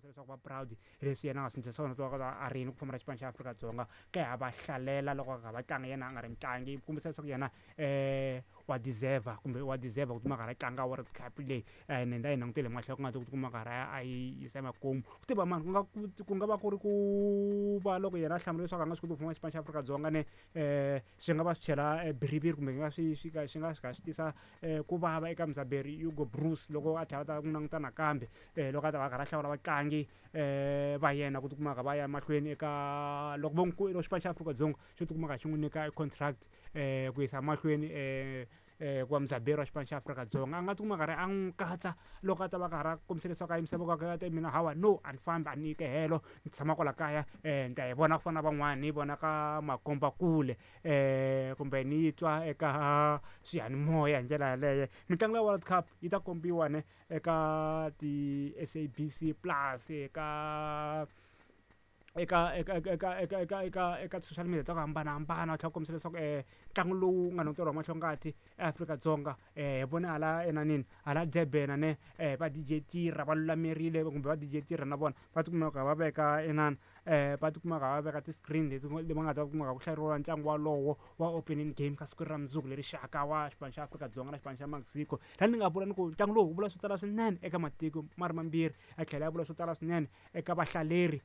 Kombisa leswaku va proud hi leswi yena a nga swi endlisa swona loko a ri yini ku famba na xipano xa Afrika-Dzonga ka ha va hlalela loko a va tlanga yena a nga ri mutlangi kombisa leswaku yena wa deserve kumbe wa deserve ku tikuma a karhi a tlanga World Cup leyi ene ni ta yi langutele hi mahlo ya ku nga ku tikuma a karhi a yi yisa emakumu. Ku tiva mani ku nga ku nga va ku ri ku va loko yena a hlamula leswaku a nga swi koti ku famba xipano xa Afrika-Dzonga ne swi nga va swi chela biriviri kumbe swi nga swi swi ka swi nga swi kha swi tisa ku vava eka mudzaberi Hugo Broos loko a tlhela a ta n'wi languta nakambe loko a ta va a karhi a hlawula vatlangi va yena ku tikuma kha va ya mahlweni eka loko vo n'wi xipano xa Afrika-Dzonga xo tikuma kha xi n'wi nyika contract ku yisa mahlweni ku va mudzaberi wa xipano xa Afrika-Dzonga a nga tikuma a karhi a n'wi katsa loko a ta va karhi a kombisa leswaku a yimisa voko a ta mina hawa no a ni fambi a ni yi helo ni tshama kwala kaya ni ta yi vona ku fana na van'wani ni yi vona ka makombakule kumbe ni yi twa eka swiyanimoya hi ndlela yaleyo. Mitlangu ya World Cup yi ta kombiwa ne eka ti-S_A_B_C plus eka eka eka eka eka eka eka eka eka ti-social media ta ku hambanahambana va tlhela va kombisa leswaku ntlangu lowu nga languteriwa hi mahlongati eAfrika-Dzonga hi vone hala enanini hala Durban ne va D_J Tira va lulamerile kumbe va D_J Tira na vona va tikuma va kha va veka inana va tikuma va kha va veka ti-screen leti va nga ta kuma ku hlaleriwa ntlangu walowo wa opening game ka siku ra mundzuku leri xaka wa xipano xa Afrika-Dzonga na xipano xa Mexico. Laha ni nga vula ni ku ntlangu lowu wu vula swo tala swinene eka matiko ma ri mambirhi ya tlhela ya vula swo tala swinene eka vahlaleri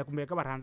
kumbe eka varhandza.